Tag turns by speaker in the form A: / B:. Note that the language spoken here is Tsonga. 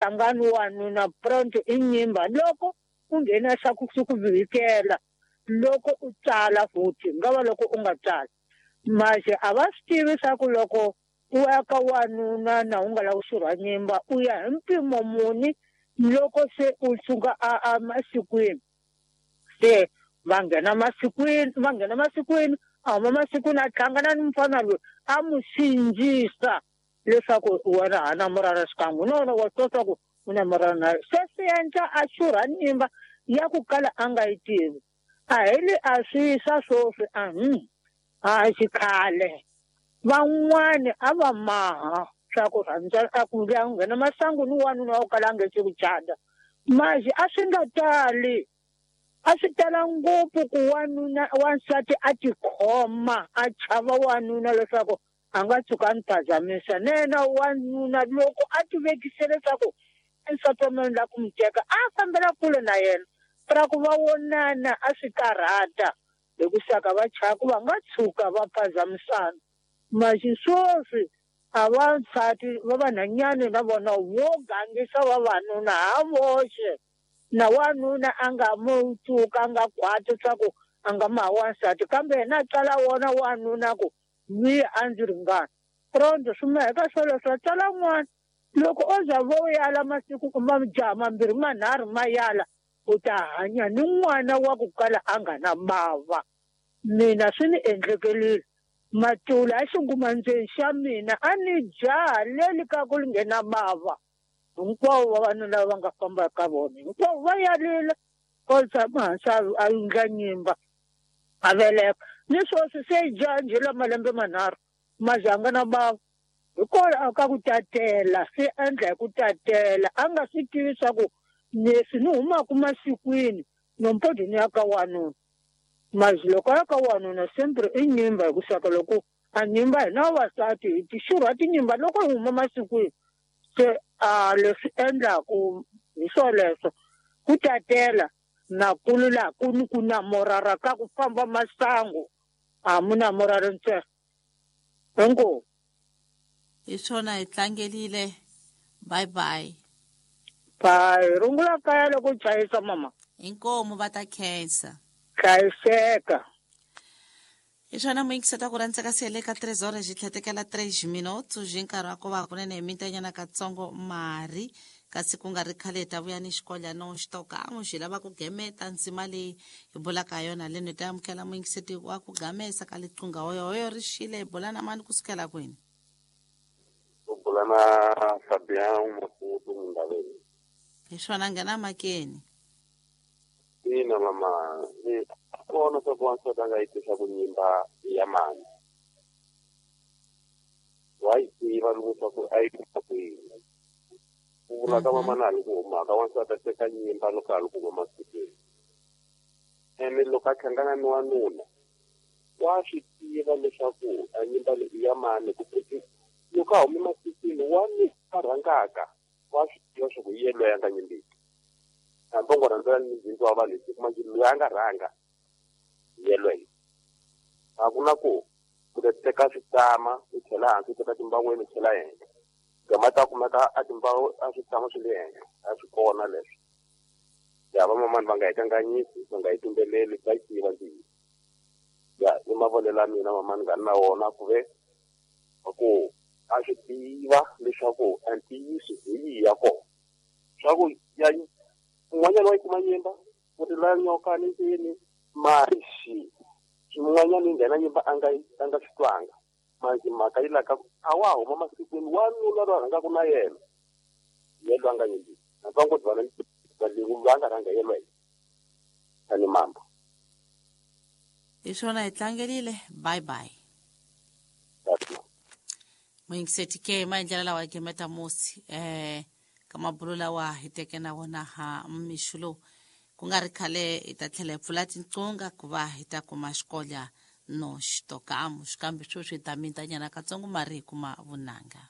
A: Hlangani wanuna pronto i nyimba loko u nghena xa ku swi ku vhikela loko u tsala futhi nga va loko u nga tsali manje a va swi tivi swa ku loko u ya ka wanuna na u nga lavi ku xurha nyimba u ya hi mpimo muni loko se u suka a a masikwini se va nghena masikwini va nghena masikwini a huma masikwini a hlangana ni mufana loyi a n'wi sindzisa leswaku wena ha na murana xikan'we no no wa swi tiva ku u na murana na se swi endla a xurha nyimba ya ku kala a nga yi tivi a hi li a swi swa sweswi a a xikhale van'wani a va maha swa ku rhandza a ku ya nghena masangu ni wanuna wa ku kala a nge se ku cata manje a swi nga tali a swi tala ngopfu ku wanuna wansati a tikhoma a chava wanuna leswaku a nga tshuka a ni phazamisa na yena wanuna loko a ti vekise leswaku i nsati wa mina ni lava ku n'wi teka a fambela kule na yena ra ku va vonana a swi karhata hi ku saka va chava ku va nga tshuka va phazamisana maxi sweswi a vansati va vanhanyani na vona vo gangisa vavanuna ha voxe na wanuna a nga mu tshuka a nga khwati swa ku a nga maha wansati kambe yena a tsala wona wanuna ku mi a ndzi ringana pronto swi maheka swoleswo a tsala n'wana loko o za vo yala masiku kuma jaha mambirhi manharhu ma yala u ta hanya ni n'wana wa ku kala a nga na bava mina swi ni endlekelile matula a xingumandzeni xa mina a ni jaha leli ka ku li nghena bava hinkwavo vavanuna lava nga famba ka vona hinkwavo va yalile o tshama hansi a endla nyimba a veleka ni sweswi se jaha njhe la malembe manharhu mazanga na bava hikwalaho ka ku tatela swi endla hi ku tatela a nga swi tivi swa ku leswi ni humaka masikwini nompodi ni ya ka wanuna mazi loko a ya ka wanuna sempre i nyimba hi ku saka loko a nyimba hina vavasati hi ti xurha tinyimba loko hi huma masikwini se a leswi endlaku hi swoleswo ku tatela na kulu laha ku ni ku namorara ka ku famba masangu a mu namorari ntsena inkomu
B: hi swona hi tlangelile bye bye
A: bye rungula kaya loko u chayisa mama
B: inkomu va ta khensa
A: hlayiseka
B: hi swona muyingiseta ku rhandza ka sele ka 3 horas xi tlhetekela 3 minutos hi nkarhi wa ku va kunene hi mintanyana katsongo mari kasi ku nga ri khale hi ta vuya ni xikolyana xitokan'we xi lava ku gemeta ndzima leyi hi bulaka ha yona leno hi ta amukela muyingiseti wa ku gamesa ka liqunga hoyohoyo ri xile hi bula na mani kusukela kwini
C: u bula na Fabian Maputo Mundaveni
B: hi swona nghena makeni
C: ina mama ni kona swa ku wansati a nga yi tisa ku nyimba ya mani wa yi tiva loko swa ku a yi kuma kwini ku vula ka mama na ha li ku humaka wansati a teka nyimba loko a li ku huma masikwini ene loko a hlangana ni wanuna wa swi tiva leswaku a nyimba leyi i ya mani ku loko a hume masikwini wanuna a rhangaka wa swi tiva swa ku hi yena loyi a nga nyimbiki hambi u ngo rhandzela ni bindzu wa vanhu hi kuma loyi a nga rhanga hi yelweyo a ku na ku u ta teka switama u chela hansi u teka timbaweni u chela henhla gama ta kumeka a timbawu a switama swi le henhla a swi kona leswo ya vamamani va nga hi kanganyisi va nga hi tumbeleli va yi tiva ntiyiso ya i mavonelo ya mina mamani nga ri na wona ku ve ku a swi tiva leswaku a ntiyiso hi yihi ya kona swa ku ya un'wanyana wa yi kuma nyimba ku ri la nyoka ni ndzeni mari xi xin'wanyana yi nghena nyimba a nga a nga swi twanga manje mhaka yi laka a wa huma masikwini wanuna loyi a rhangaka na yena ye loyi a nga nyimbiki hambi va ngo dwana loyi a nga rhanga yelweyo tani mamba
B: hi swona hi tlangelile bye bye muyingiseti ke maendlelo lawa ya gemeta musi eh ka mabulo lawa hi teke na wona ha mixo lowu ku nga ri khale hi ta tlhela hi pfula tinqunga ku va hi ta kuma xikolya no xitokamu xikambe sweswi hi ta mintanyana katsongo mari hi kuma vunanga.